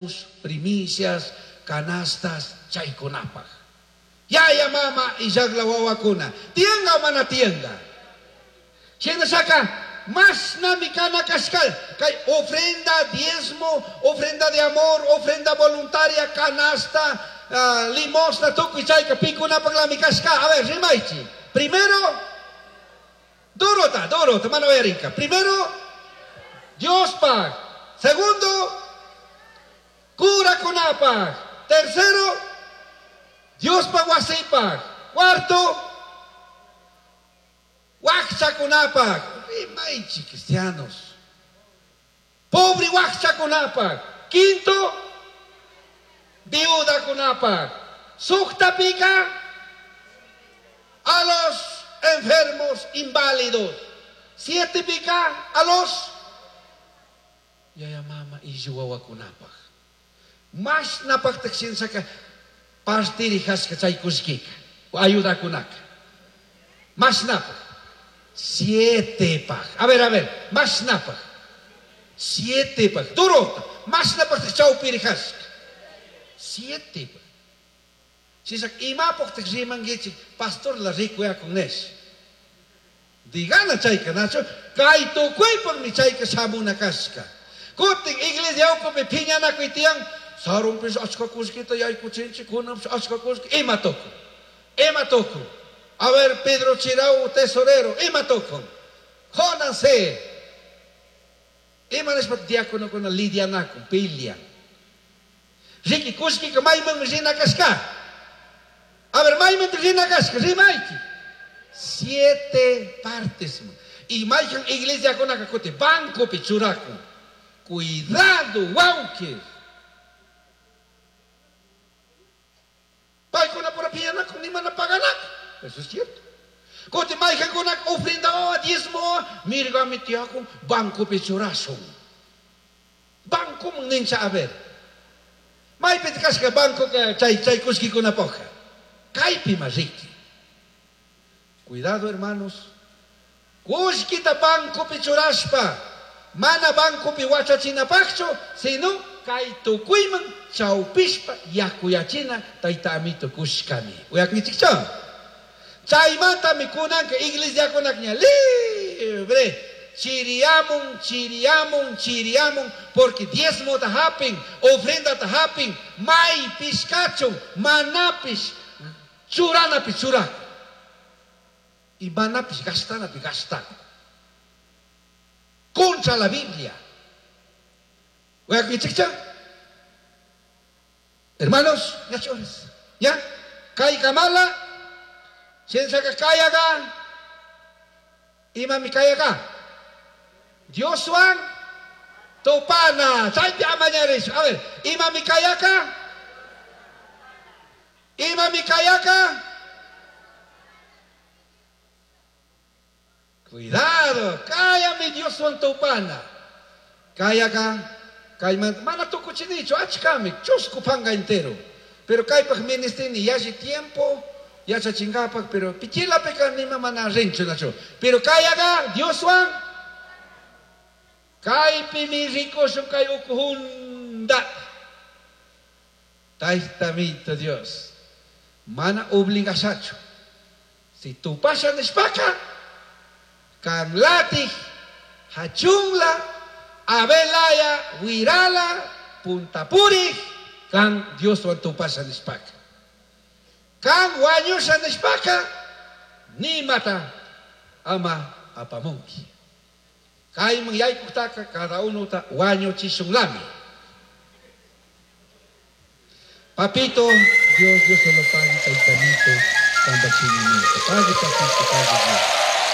Primicias, canastas, chaykunapaq. Yaya mama illaqla wawakuna, tiyanqa o mana tiyanqa? Shinashaka mashnami kana kashka kay ofrenda, diezmo, ofrenda de amor, ofrenda voluntaria, canasta, limosna, tukuy chayka pikunapaqlami kashka. A ver, rimaychi. Primero, durota, durota, mana uyarinka. Primero, Diospaq. Segundo, curakunapaq. Tercero, Diospaq wasipaq. Cuarto, wakchakunapaq. Rimaychi, cristianos. Pobre wakchakunapaq. Quinto, viudakunapaq. Suqtapika, a los enfermos inválidos. Sietepika, a los yaya mama illu wawakunapaq. Mashnapaqtaq shinsaka partirijashka chay kullkika, ayudakunaka. Mashnapaq. Sietepaq. A ver, a ver, mashnapaq. Sietepaq. Durota. Mashnapaqtaq chawpirijashka. Sietepaq. Shisaka imapaqtaq rimankichik pastor la rikuyakun nish. Digana chayka nachu, kay tukuypaqmi chayka shamuna kashka. Kutin iglesia ukupi phiñanakuy tiyan, sarunpish achka kullkita yaykuchinchik, kunanpish achka kullki, ima tukun? Ima tukun? A ver, Pedro Chirau, tesorero, ima tukun? Jónanse. Ima nishpa diáconokuna lidianakun, pelean. Riki kullkika maymanmi rina kashka? A ver, maymanmi rina kashka? Rimayki. 7 partes. Y mayhan iglesiakunaka kuti bancopi churakun. Cuidado, wawki. Paykuna pura piñanakun, ni mana paganakun. Eso es cierto. Kuti mayhankunaka ofrenda wawa, diezmo wawa, mirgami tiyakun, bancopi churashun. Bancoman nincha, a ver. Maypi kashka banco chay, chay kullkikunapaqqa. Kaypi ma riki. Cuidado, hermanos. Kullkita bancopi churashpa, mana bancopi wachachinapaqchu, sino kay tukuyman chawpishpa yakuyachina tayta amito kushkami. Uyakunkichikchu? Chaymantami kunanka iglesiakunakña libre. Chiriamun, chiriamun, chiriamun, porque diezmota hapin, ofrendata hapin, maypish kachun, manapish, churanapi churakun. Y manapish gastanapi gastakun. Contra la Biblia. Uyakunkichikchu? Hermanos, ñachores, ya, kaykamala, shinashaka kayaga, imami kayaga. Dioswan tupana, chaypi amañarish. A ver, imami kayaka? Imami kayaka? Cuidado, kayami Dioswan tupana. Kayaka, kayman, mana tukuchinichu, achkami, chusku panga entero. Pero kaypaq ministrini yalli tiempo, yachachinkapak, pero pichilapika nima mana rinchu nachu. Pero kayaga, Dioswan, kaypimi rikushun kay ukuhunda. Taytamito Dios, mana obligashachu. Si tupasha nishpaka, kanlatij, hachunla, abelaya, wirala, puntapurij, kan Dioswan tupasha nishpaka. Kan wañusha nishpaka, nimata ama apamunki. Kayman yaykuqtaqa cada uno ta wañuchishunlami. Papito, Dios, Dios se lo pague, taytamito, tambachinimito. Pague, papito, pague Dios.